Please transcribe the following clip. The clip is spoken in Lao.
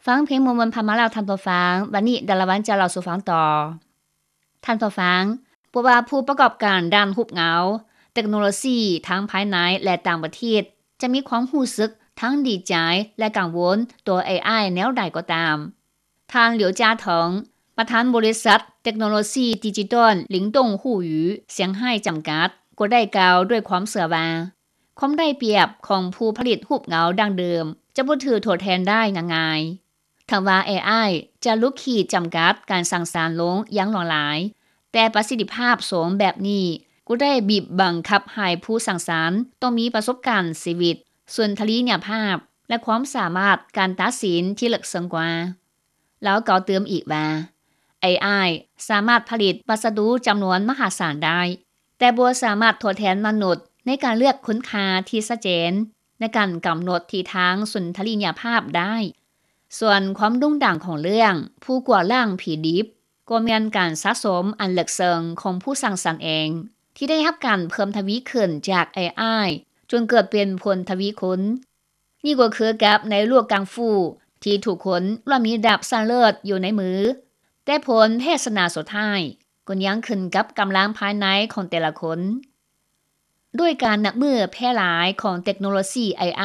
ຟັງເພງມ່ວນໆຜ່ານມາແລ້ວທ່ານຜູ້ຟັງ, ບັດນີ້ດາລາວັນຈະເລົ່າສູ່ຟັງຕໍ່. ທ່ານຜູ້ຟັງ, ບໍ່ວ່າຜູ້ປະກອບການດ້ານຮູບເງົາ, ເຕັກໂນໂລຊີທັງພາຍໃນ ແລະ ຕ່າງປະເທດ ຈະມີຄວາມຮູ້ສຶກທັງດີໃຈ ແລະ ກັງວົນຕໍ່ເອໄອແນວໃດກໍຕາມ, ທ່ານ ຫຼຽວ ຈາເຖິງ, ປະທານບໍລິສັດເຕັກໂນໂລຊີດິຈິຕອນ ລິງຕົງ ຫູ່ຫຢູ ສຽງໄຮ້ ຈຳກັດ ກໍໄດ້ກ່າວດ້ວຍຄວາມເຊື່ອວ່າ ຄວາມໄດ້ປຽບຂອງຜູ້ຜະລິດຮູບເງົາດັ້ງເດີມຈະບໍ່ຖືກທົດແທນໄດ້ງ່າຍໆ. ເຖິງວ່າເອໄອຈະຫຼຸດຂີດຈຳກັດການສ້າງສານລົງຢ່າງຫຼວງຫຼາຍ, ແຕ່ປະສິດທິພາບສູງແບບນີ້ກໍໄດ້ບີບບັງຄັບໃຫ້ຜູ້ສ້າງສານຕ້ອງມີປະສົບການຊີວິດ, ສຸນທະລີຍະພາບ ແລະ ຄວາມສາມາດການຕັດສິນທີ່ເລິກເຊິ່ງກວ່າ. ລາວກ່າວຕື່ມອີກວ່າ ເອໄອສາມາດຜະລິດວັດສະດຸຈຳນວນມະຫາສານໄດ້, ແຕ່ບໍ່ສາມາດທົດແທນມະນຸດໃນການເລືອກຄຸນຄ່າທີ່ຊັດເຈນ, ໃນການກຳນົດທິດທາງສຸນທະລີຍະພາບໄດ້. ສ່ວນຄວາມໂດ່ງດັງຂອງເລື່ອງຜູ້ກວາດລ້າງຜີດິບ ກໍແມ່ນການສະສົມອັນເລິກເຊິ່ງຂອງຜູ້ສ້າງສັນເອງ ທີ່ໄດ້ຮັບການເພີ່ມທະວີຂຶ້ນຈາກເອໄອ ຈົນເກີດເປັນຜົນທະວີຄູນ. ນີ້ກໍຄືກັບໃນໂລກກັງຟູ ທີ່ທຸກຄົນລ້ວນມີດາບຊັ້ນເລີດຢູ່ໃນມື, ແຕ່ຜົນເພດຊະນາສຸດທ້າຍກໍຍັງຂຶ້ນກັບກຳລັງພາຍໃນຂອງແຕ່ລະຄົນ. ດ້ວຍການນັບມື້ແຜ່ຫຼາຍຂອງເຕັກໂນໂລຊີເອໄອ